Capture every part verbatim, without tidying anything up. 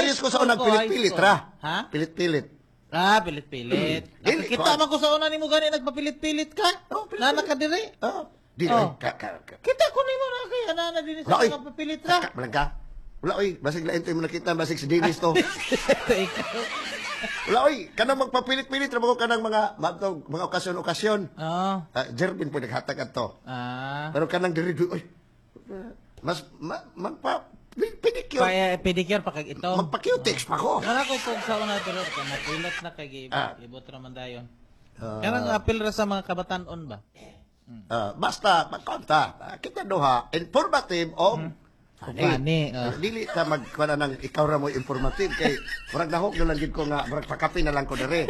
Nag-serious ko sa High unang school ko, high pilit-pilit school. ra. Ha? Pilit-pilit. Ah, pilit-pilit. Dili, Kita kuan. man ko sa una nimo gani nagpapilit-pilit ka. Oh, pilit-pilit. Nana ka diri. Ah, di Oh. ay, ka, ka, ka. Kita ko nimo na kay ana na dinhi sa Wala, oy. mga papilit ra. Ka, walang ka. Wala oy, basig lain to yung nakita, basig si Dennis to. Ikaw. Wala oy, kanang magpapilit-pilit ra mo kanang mga mga, mga okasyon-okasyon. Oh. Ah, Jervin po naghatag adto. Ah. Pero kanang diri oy. Mas ma, magpa pedicure, Pa eh, pedicure pa kag ito. magpa-cutex pa ko. Kana ko kung sa una pero ka mapilot na kay gi- Ah. ibot ra man dayon. Kanang apil ra sa mga kabatanon ba? Ah, basta magkonta. Ah, kita duha informative o funny. Funny, ah. Dili ta magkuha na ng ikaw ra mo informative kay murag nahog na lang gid ko nga murag pakape na lang ko diri.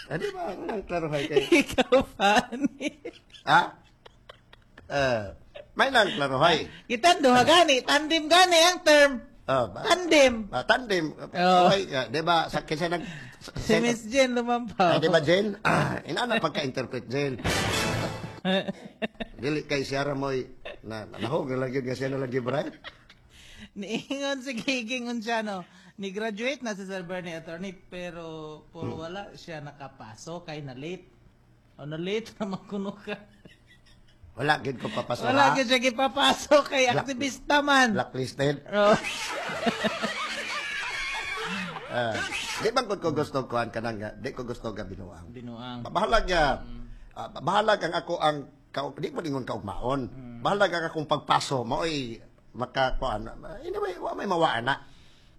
Ah, di ba? Ang klarohay kay Ikaw funny. Ha? Eh, may nang klarohay. Kita duha gani, tandem gani ang term. Ah, ba- Tandem. ah, tandem. Oo. Okay, ah, di ba sa kinsa nag sa- Si Miss Jen lumampaw. Ah, di ba Jen? Ah, inana pagka-interpret Jen. Dili kay siya ra mo'y na nahog na lang yun nga siya na lang bright. Niingon si Giging siya no. Ni graduate na si Sir Bernie attorney pero puro wala siya nakapasok kay na late. O na late na kuno ka. Wala gid ko papasok. Wala ha? gyud siya gipapasok kay Black- aktivista man. Blacklisted. Oh. Ah, di man gud ko gusto kuan kanang nga, di ko gusto ga binuang. Binuang. Bahalag nga ah, bahalag ang ako ang ka, di mo ningon kaugmaon. Bahalag ang akong pagpaso maoy makakuan. Anyway, wa may mawaan na.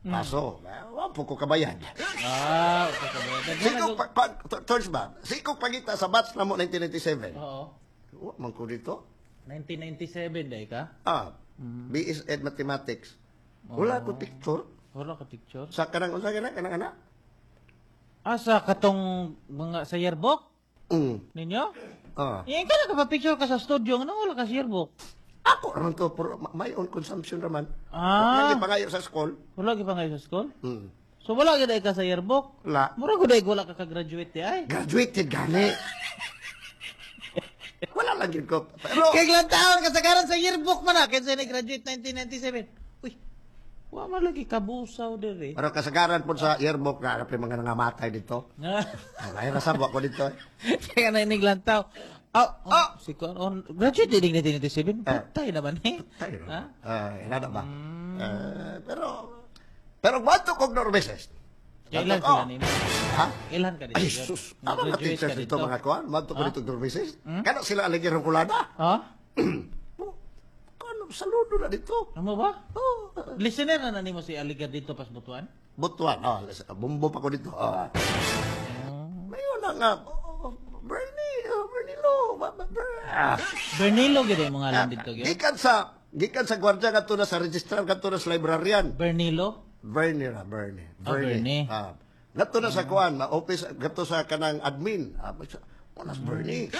Paso. Ah, Wa po ko kabayad. Ah, okay ka ba? Daghan Sikog na pa, pa, Torch ba? Sikog pangita sa batch na mo nineteen ninety-seven. Oo. Wa man ko dito. nineteen ninety-seven day ka? Ah, B S Ed Mathematics. Wala ko picture. Wala ka picture? Sa kanang unsa kana kanang ana? Ah, sa katong mga sa yearbook Mm. ninyo? Ah. Eh, ka na picture ka sa studio nga wala ka sa yearbook. Ako raman to for my own consumption raman. Ah. Wala pangayo sa school. Wala gyud pa ngayon sa school? Mm. So wala gyud ay ka sa yearbook? Wala. Mura gud ay wala ka ka-graduate di ay. Graduated gani. Wala lang yun ko. Pero, Kay ilang taon kasagaran sa yearbook man na kinsa ni graduate nineteen ninety-seven. Uy. Wa man lagi kabusaw diri. Pero kasagaran po sa yearbook na hanap yung mga nangamatay dito. Ay, nasabwa ko dito. Eh. Kaya na inig lantaw. Oh, oh, si Kuan, oh, graduate din nineteen ninety-seven. Eh. Patay naman eh. Tayo. Ha? Ah, inana ba? Eh, pero, pero bato kog Normeses. Kailan Bato ko. sila nimo? Ha? Kailan ka dito? Ay, sus. Ano mga Nag-graduate teachers ka dito, mga kuan? Bato ko dito Normeses. Kano sila aligir ng kulada? Ha? Oh, kano, saludo na dito. Ano ba? Oh, Listener na na nimo si Aligar dito pas Butuan? Butuan. Oh, bumbo pa ko dito. Oh. Mayon na nga. Oh, Bernie, oh, Bernie Lo. Ba- ba- Ber- Ah. Bernilo gyud ang mga ngalan dito gyud. Gikan sa gikan sa gwardiya kadto na sa registrar kadto na sa librarian. Bernilo? Bernie ra, Bernie. Ah, Bernie. Ah. Ngadto na sa kuan, ma office ngadto sa kanang admin. Ah, Unas Bernie.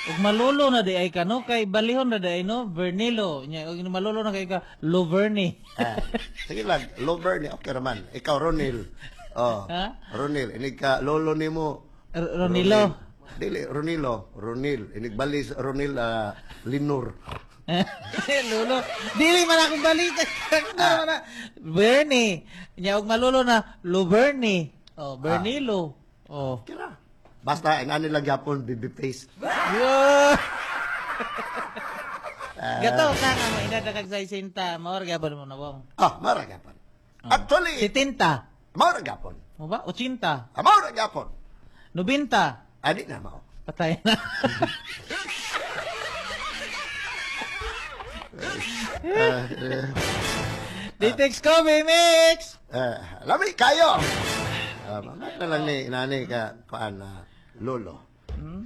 Ug malulo na di ay ka no kay balihon na di ay no Bernilo. Nya ug malulo na kay ka Loverni. Ah, sige lang, lo Bernie, okay raman. Ikaw Ronil. Oh. Ha? Ronil, inig ka lolo nimo. R- Ronilo. Dili, Ronilo, Ronil. Inig balis Ronil ah, Linur. Lolo. Dili man akong balita. Ah. na. Bernie. Nya ug malulo na Loverni. Oh, Bernilo. Oh. Kira. Basta inani lang gyapon baby face. Yo. Gato ka nga mo edad na kag sesenta, mao ra gyapon mo na wong. Ah, mara gyapon. Actually, setenta. mara gyapon. Mo ba? eighty. Ah, mara gyapon. ninety. Adi na mao. Patay na. Eh, eh, D T X Coffee Mix! eh, lami kayo. Ah, mamaya na lang ni nani ka kuan na lolo.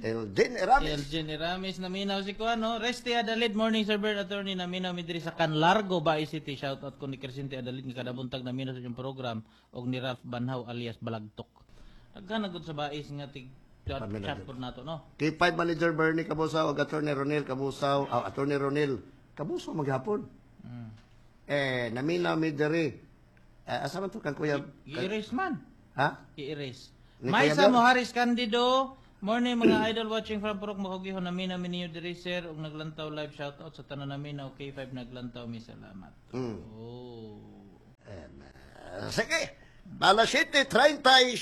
Elgin Eramis. Elgin Eramis, naminaw si Kuan, no? Resti Adalid, morning Sir Bert Attorney, naminaw mi diri sa Canlargo, Bae City. Shout out ko ni Crescente Adalid nga kada buntag naminaw sa inyong program og ni Ralph Banhaw alias Balagtok. Daghan na gud sa Bais nga tig chat, Paminaw chat pod nato, no? K five Manager Bernie Kabusaw ug Attorney Ronel Kabusaw, ah, Attorney Ronel Kabusaw maghapon. Eh, naminaw mi diri. Eh, asa man to kang kuya? Gi-erase man. Ha? I-erase. Ni Maisa Kuya Bel? Moharis Candido, morning mga idol watching from Purok Makugihon, naminaw mi ninyo diri sir ug naglantaw live, shout out sa tanan namin na K five naglantaw mi, salamat. Mm. Oh. Sige. Alas siyete treinta y